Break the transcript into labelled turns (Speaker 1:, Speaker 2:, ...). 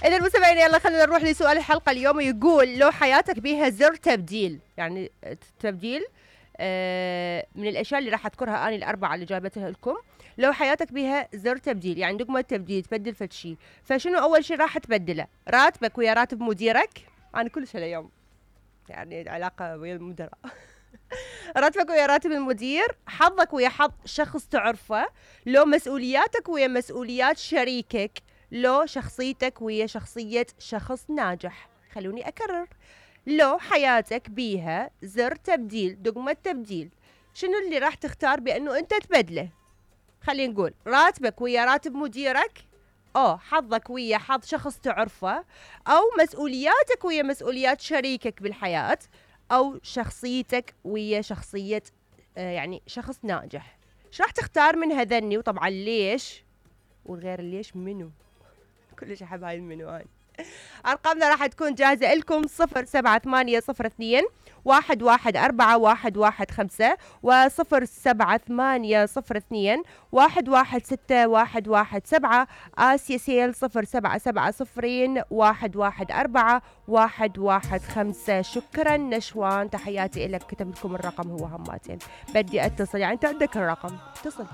Speaker 1: إذا مستمعين يلا خلينا نروح لسؤال الحلقة اليوم. يقول لو حياتك بيها زر تبديل، يعني تبديل من الأشياء اللي راح أذكرها أنا الأربعة اللي جايبتها لكم. لو حياتك بيها زر تبديل، يعني دقمة تبديل تبدل فد شيء، فشنو أول شيء راح تبدله؟ راتبك ويا راتب مديرك؟ أنا كلش هاليوم يعني علاقة ويا المدراء. راتبك ويا راتب المدير، حظك ويا حظ شخص تعرفه، لو مسؤولياتك ويا مسؤوليات شريكك، لو شخصيتك ويا شخصية شخص ناجح. خلوني أكرر، لو حياتك بيها زر تبديل دقمة تبديل، شنو اللي راح تختار بأنه أنت تبدله؟ خلينا نقول راتبك ويا راتب مديرك، أو حظك ويا حظ شخص تعرفه، أو مسؤولياتك ويا مسؤوليات شريكك بالحياة، أو شخصيتك ويا شخصية يعني شخص ناجح. ايش راح تختار من هذني؟ وطبعا ليش؟ وغير ليش منو؟ كلش أحب هاي المنو هاي. أرقامنا راح تكون جاهزة لكم 07802 114 115 و07802 116117. آسيا سيل 0770 114 115. شكرا نشوان، تحياتي لك. كتب لكم الرقم هو هماتين، بدي أتصل، يعني أنت عندك الرقم اتصل.